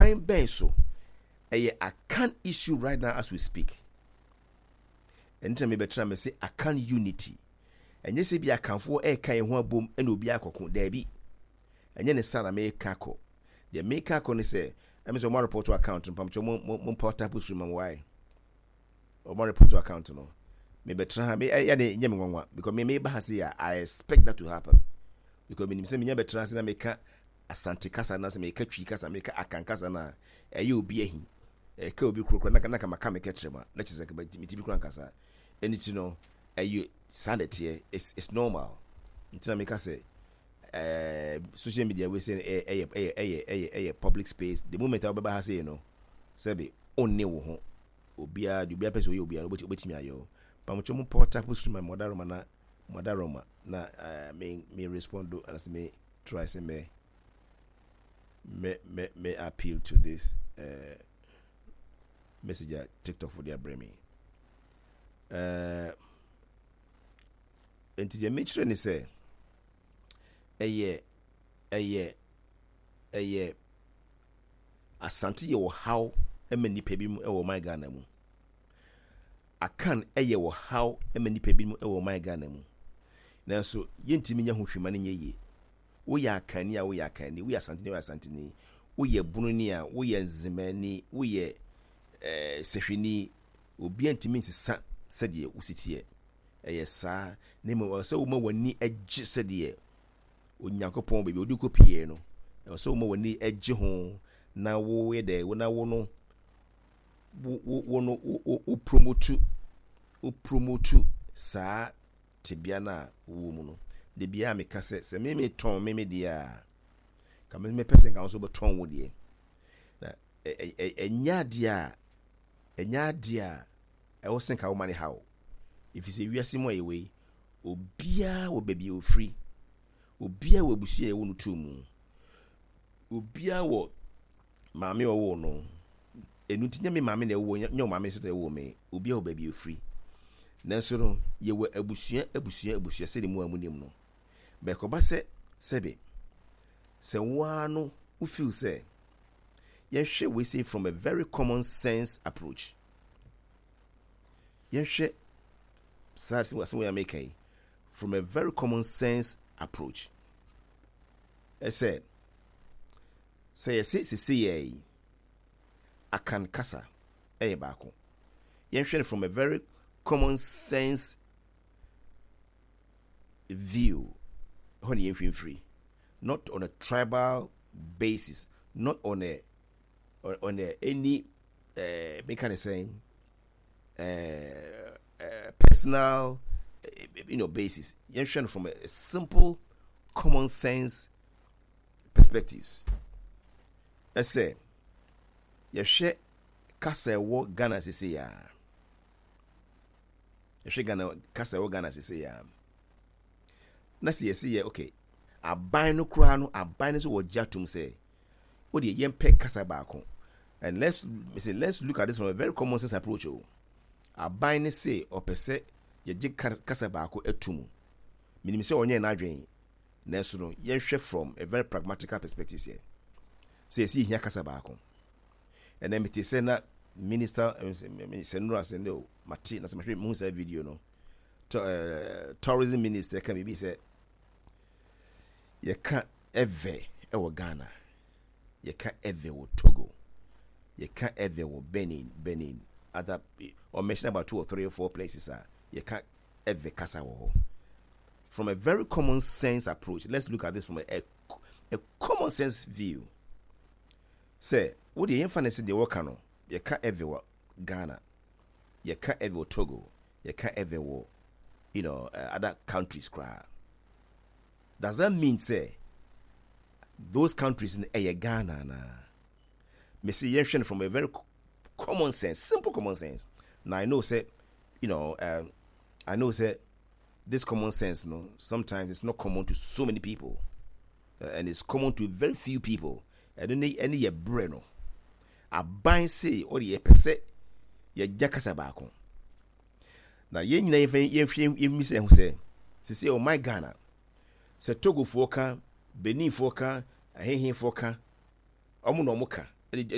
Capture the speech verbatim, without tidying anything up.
Ɛkwan bɛn so ɛyɛ Akan issue right now as we speak? Ɛno nti na mebɛtena me se Akan unity. Ɛnyɛ sɛ bi Akanfoɔ ɛreka yɛn ho abom ɛna obi akɔko. Daabi, ɛnyɛ ne sa na meka kɔ. Deɛ meka kɔ ne sɛ ɛmi sɛ ɔmo report account no pamkyɛ mo mo mo mpa type siri ma mo wae. Ɔmo report account no, mebɛtena ha me ɛyɛ ne nyɛ me nwanwa because me meba ha se a, I expect that to happen because menim sɛ menya bɛtena ase na meka Asante kasa na sɛ meka Twi kasa, meka Akan kasa na ɛyɛ obi ahi, ɛka obi kurokuro na na kama ka meka kyerɛ mu a na kyerɛ sɛ meti bi kura nkasa. Ɛno ti no, ɛyɛ saa na ɛteɛ. it's it's normal. Nti na meka sɛ ɛɛ social media wei sɛ ɛyɛ ɛyɛ ɛyɛ ɛyɛ ɛyɛ public space. The moment a wobɛba ha sei no, sɛbi, ɔnne wo ho. Obiara deɛ, obiara pɛ sɛ ɔyɛ obiara obɛtumi ayɛ o. Pamotwa mu pɔ type stream ma mɔdaroma na mɔdaroma na ɛɛ me me respond do anasɛ me try sɛ me me me me appeal to this uh, message a TikTok for deɛ abrɛ me. ɛɛ nti deɛ mekyerɛ ne sɛ ɛyɛ ɛyɛ ɛyɛ Asante yɛ ɔhaw ma nipa bi mu ɛwɔ ɔman Ghana mu. Akan ɛyɛ ɔhaw ma nipa bi mu ɛwɔ ɔman Ghana mu, nanso yɛntumi nya ho hwima no nyɛ yie. Woyɛ Akanni a, woyɛ Akanni, woyɛ Asanteni a, woyɛ Asanteni, woyɛ Bononi a, woyɛ Nzemani, woyɛ ɛɛ Sɛhwini, obiara ntumi nsesa sɛdeɛ wosi teɛ. Ɛyɛ saa na mmom ɛwɔ sɛ woma w'ani gye sɛdeɛ Onyankopɔn baabi a wode kɔ pie no. Ɛwɔ sɛ woma w'ani gye ho na woyɛ dɛ na wo no wo wo wo no wo wo promote wo promote saa tebea no a wowɔ mu no. De biara meka sɛ sɛ me metɔn me me deɛ a, ka me mepɛ sɛ nka wo nso wobɛtɔn wo deɛ. Na ɛnyɛ adeɛ a ɛnyɛ adeɛ a ɛwɔ sɛ nka woma ne ha wo, ɛfiri sɛ wiase mu a yɛwɔ yi, obiara wɔ baabi a ofiri, obiara wɔ abusua a yɛwɔ no too mu, obiara wɔ maame a ɔwɔ no. Ɛnu nti nyɛ me maame na ɛwɔ, nyɛ wo maame nso na ɛwɔ me. Obiara wɔ baabi a ofiri, nanso no yɛwɔ abusua, abusua, abusua sɛdeɛ mu a mu nim no. Bɛkɔba sɛ sɛbe sɛ woara no wo feel sɛ yɛhwɛ wei sei from a very common sense approach, yɛhwɛ saa asɛm asɛm wei a meka yi from a very common sense approach, ɛsɛ sɛ yɛse sese yɛ yi Akan kasa ɛyɛ baako. Yɛnhwɛ no from a very common sense view hɔ ne yɛnhwɛ mfiri, not on a tribal basis, not on a on, on a any uh, meka ne sɛn, uh, uh, personal you know basis. Yɛnhwɛ no from a, a simple common sense perspectives. Ɛsɛ yɛhwɛ kasa ɛwɔ Ghana sese ya, yɛhwɛ Ghana kasa ɛwɔ Ghana sese ya na sɛ yɛsi yɛ okay, aban no koraa no, aban no nso wɔ gye atum sɛ o deɛ yɛmpɛ kasa baako. And let's say let's look at this from a very common sense approach o. Aban ne se ɔpɛ sɛ yɛgye kasa baako atum. Menim sɛ ɔnyɛ n'adwene, nanso no yɛnhwɛ from a very pragmatical perspective sɛ sɛ yɛsi yɛhia kasa baako. Ɛnna mete sɛ na minister sɛ nnura sɛ ne o mate na sɛ mahwɛ muhu saa video no, tourism minister ka biribi sɛ yɛka Ewe ɛwɔ Ghana, yɛka Ewe wɔ Togo, yɛka Ewe wɔ Benin Benin other or mention about two or three or four places a yɛka Ewe kasa wɔ hɔ. From a very common sense approach, let's look at this from a, a, a common sense view sɛ wodeɛ yɛmfa ne sɛ deɛ wɔka no, yɛka Ewe wɔ Ghana, yɛka Ewe wɔ Togo, yɛka Ewe wɔ you know uh, other countries koraa, does that mean sɛ those countries no ɛyɛ Ghana anaa? Mesi yɛnhwɛ no from a very common sense, simple common sense. Now I know sɛ you know um, I know sɛ this common sense no, sometimes it's not common to so many people uh, and it's common to very few people. Ɛno ne ɛne yɛ brɛ no. Aban se ɔde yɛpɛ sɛ yɛgya kasa baako na yɛn nyinaa yɛmfa yɛmhwɛ yɛmmi sɛ ɛho sɛ sisi ɔman Ghana sɛ Togofoɔ ka, Beninfoɔ ka, ahehefoɔ ka, ɔmo na ɔmo ka.